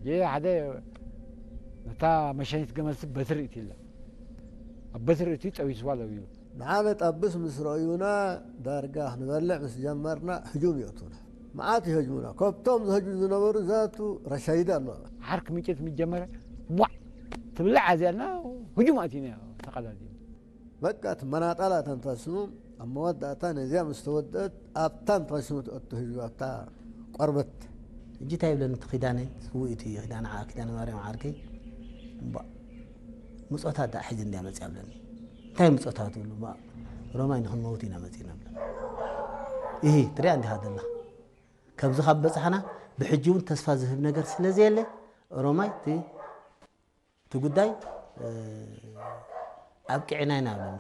ይህ ሓደ ነታ መሸኒት ገመልሲ በትሪ እቲ ኢላ ኣብ በትሪ እቲ ጠቢስዋ ለቢሉ ንዓመት ኣብስ ምስ ረእዩና ዳርጋ ክንበልዕ ምስ ጀመርና ህጁም ይእቱና። መዓት ይህጅሙና። ከብቶም ዝህጅሙ ዝነበሩ ዛቱ ረሻይዳ ኣለዋ። ዓርክ ምጭት ምጀመረ ቧዕ ትብልዕ ኣዚያና ህጁም ኣቲና ተቐዳዲም። በቃ እቲ መናጣላ ተንተስሙ ኣብ መወዳእታ ነዚያ ምስ ተወደአት ኣብታ እንተስሙ ትእቱ ህዝቢ ኣብታ ቆርበት። ሕጂ እንታይ ይብለኒ እቲ ኪዳነይ ስውእ እቲ ኪዳነ ዓ- ኪዳነ ማርያም ዓርከይ እምባ ምጾታት ደኣ ሕጂ እንድያ መጽያ ብለኒ። እንታይ ምጾታት ትብሉ እምባ ሮማይ ንክንመውት ኢና መጺና ብለኒ። ይሂ ትሪኣ እንዲኻ ደላ ከምዚ ካብ በጻሕና ብሕጂ እውን ተስፋ ዝህብ ነገር ስለ ዘየለ ሮማይ እቲ እቲ ጉዳይ ኣብቂዕና ኢና ብለኒ።